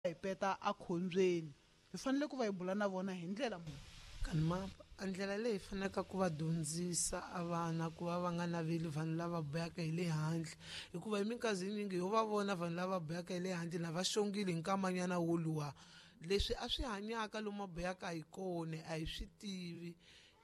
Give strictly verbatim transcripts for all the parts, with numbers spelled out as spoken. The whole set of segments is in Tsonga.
Hi peta akhombyeni, hi fanele ku va hi bula na vona hi ndlela muni? Kanima a ndlela leyi faneleke ku va dyondzisa a vana ku va va nga naveli vanhu lava buyaka hi le handle, hikuva hi minkarhi yinyingi ho va vona vanhu lava buyaka hi le handle na va xongile hi nkamanyana woluwa leswi a swi hanyaka lomu buyaka hi kona a hi swi tivi.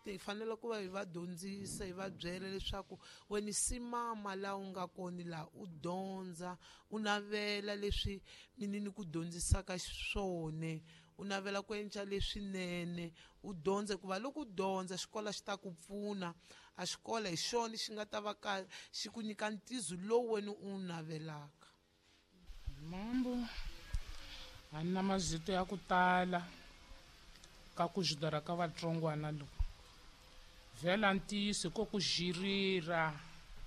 Hi fanele ku va hi va dyondzisa, hi va byela leswaku wena simama laha u nga kona laha u dyondza, u navela leswi mina ni ku dyondzisaka swona, u navela ku endla leswinene, u dyondza, hikuva loko u dyondza xikolo xi ta ku pfuna. A xikolo hi xona xi nga ta va ka xi ku nyika ntizo lowu wena u wu navelaka. Mambo a ni na mazito ya ku tala ka ku jidara ka vatsongwana loku vhela ntiyiso ko ku jirira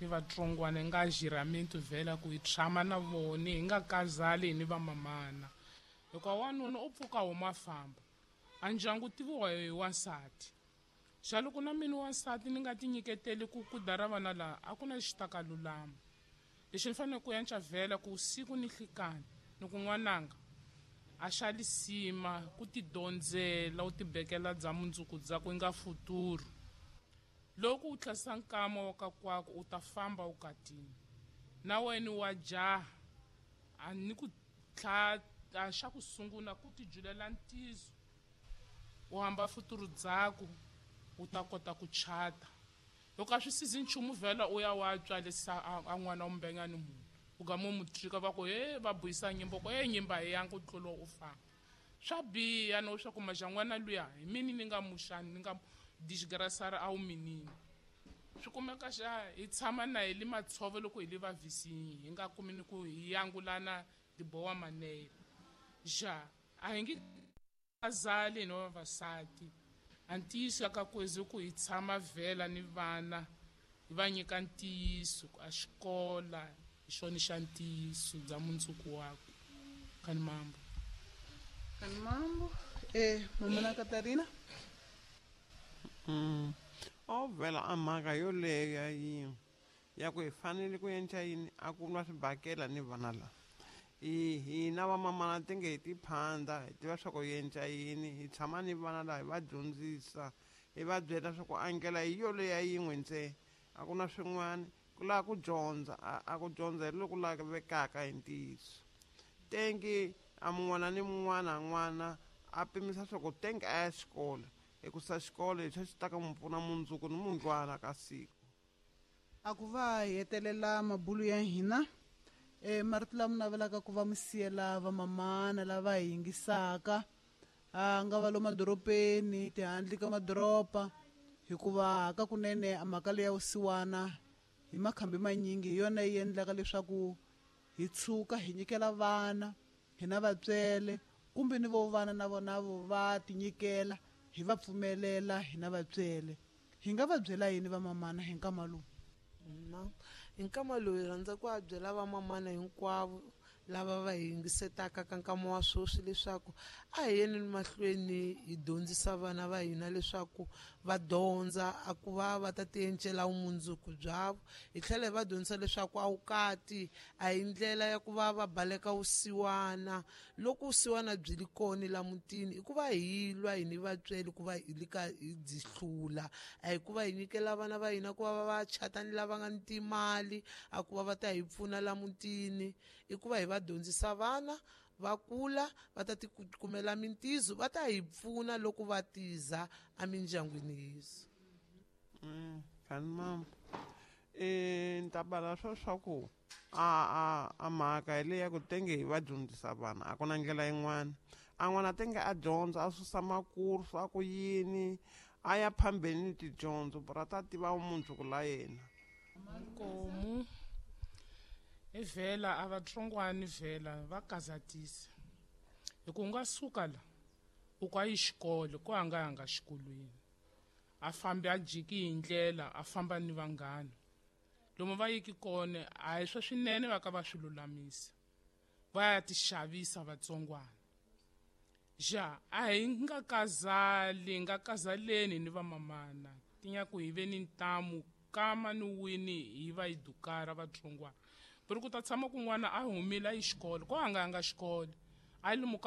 ni vatsongwana hi nga jiramintu vhela ku hi tshama na vona hi nga kazali ni vamamana, hikuva wanuna u pfuka huma famba a ndyangu tiviwa hi wansati. Xa loko na mina wansati ni nga tinyiketeli ku ku dara vana laha a ku na lexi ta ka lulama. Lexi ni fanele ku yanca vhela ku siku ni hlikani ni ku n'wananga a xa lisima ku tidyondzela u tibekela bya mundzuku bya ku nga futuru. Loko u tlhasa nkama wa ka kwako u ta famba u katini na wena wa jaha a ni ku tlha a xa ku sungula ku tijulela ntizo u hamba futuru dzaku u ta kota ku chata. Loko a swi sizi nchumu vhela u ya wa tswalisa a n'wana wa mbengani munhu u gama u mu trika va ku he va buyisa nyimba ku he nyimba hi yanga u tlula u famba. Swa biha no swa ku maja n'wana luya hi mini ni nga muxani ni nga disgrasara a wu minini. Swi kumeka xa hi tshama na hi le matshove loko hi le vavisini hi nga kumi ni ku hi yangulana dibowa manele. Ja a hi nge azali no vavasati a ntiyiso ka kwezi ku hi tshama vhela ni vana hi va nyika ntiyiso a xikola hi xona xa ntiyiso bya mundzuku wakwe. Kani mambo kani mambo eh mamana Katarina. Mm. O vhela a mhaka yoleyo yi ya ku hi fanele ku endla yini a ku nwa swibakela ni vana la i hina vamamana ti nge hi tiphanda hi tiva swa ku hi endla yini, hi tshama ni vana laha hi va dyondzisa hi va byela swa ku a ndlela hi yoleya yin'we ntsena a ku na swin'wana ku lava ku dyondza a ku dyondza hi loku lavekaka hi ntiyiso. Tengi a mun'wana ni mun'wana n'wana a pimisa swa ku tengi a ya xikolo hikusa xikolo hi xo xi ta ka mu pfuna mundzuku ni mundlwana ka siku. A ku va hi hetelela mabulu ya hina e marito lama navelaka ku va mi siyela vamamana lava hi yingisaka a nga va lo madorobeni tihandle ka madoroba, hikuva ka kunene a mhaka leya vusiwana hi makhambi manyingi hi yona yi endlaka leswaku hi tshuka hi nyikela vana hina vatswele kumbe ni vo vana na vona vo va tinyikela hi va pfumelela hina vatswele. Hi nga va byela yini vamamana hi nkama lowu? Na hi nkama lowu hi rhandza ku va byela vamamana hinkwavo lava va hi yingisetaka ka nkama wa sweswi leswaku a hi yeni mahlweni hi dyondzisa vana va hina leswaku va dyondza a ku va va ta tiencela vumundzuku byavo. Hi tlhela hi va dyondzisa leswaku a vukati a hi ndlela ya ku va va baleka vusiwana. Loko vusiwana byi li kona la mutini i ku va hi lwa hi ni vatswele ku va hi li ka hi byi hlula, a hi ku va hi nyikela vana va hina ku va va chata ni lava nga ni timali a ku va va ta hi pfuna la mutini. I ku va hi va dyondzisa vana va kula va ta tikumela mintizo va ta hi pfuna loko va tiza emindyangwini yesu. Mm, kani mama eh ni ta bala swo swa ku a a a mhaka hi leya ku tenge hi va dyondzisa vana a ku na ndlela yin'wana. A n'wana tenge a dyondza a susa makursu a ku yini a ya phambeni ni tidyondzo bra ta tiva vumundzuku la yena. Nkomu i vhela a vatsongwani vhela va kazatisa hi ku nga suka la u ku a yi xikolo ku a nga yanga xikolweni a fambi a jiki hi ndlela a famba ni vanghana lomu va yiki kona a hi swa swinene va ka va swi lulamisa va ya tixavisa vatsongwana. Ja a hi nga kazali hi nga kazaleni ni vamamana tinyaku hi ve ni ntamu kama ni wini hi va hi dukara vatsongwana ku ri ku ta tshama kun'wana a humile a yi xikolo ko a nga yanga xikolo a A yi